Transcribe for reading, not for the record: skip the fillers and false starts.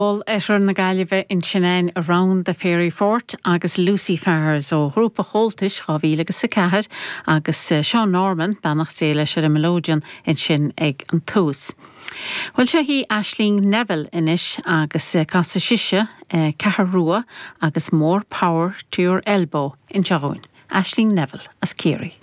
Oirthear na Gaillimhe ansin againn Around the Fairy Fort agus Lucy Fars ó ghrúpa Chomhaltais 2000 agus 4 agus Seán Norman, beannacht Dé leis ar an melodeon ansin ag an tús. Bhuel seo í Aisling Neville anois agus casfaidh sise Ceathair Rua agus More Power to Your Elbow anseo dhúinn. Aisling Neville as Ciarraí.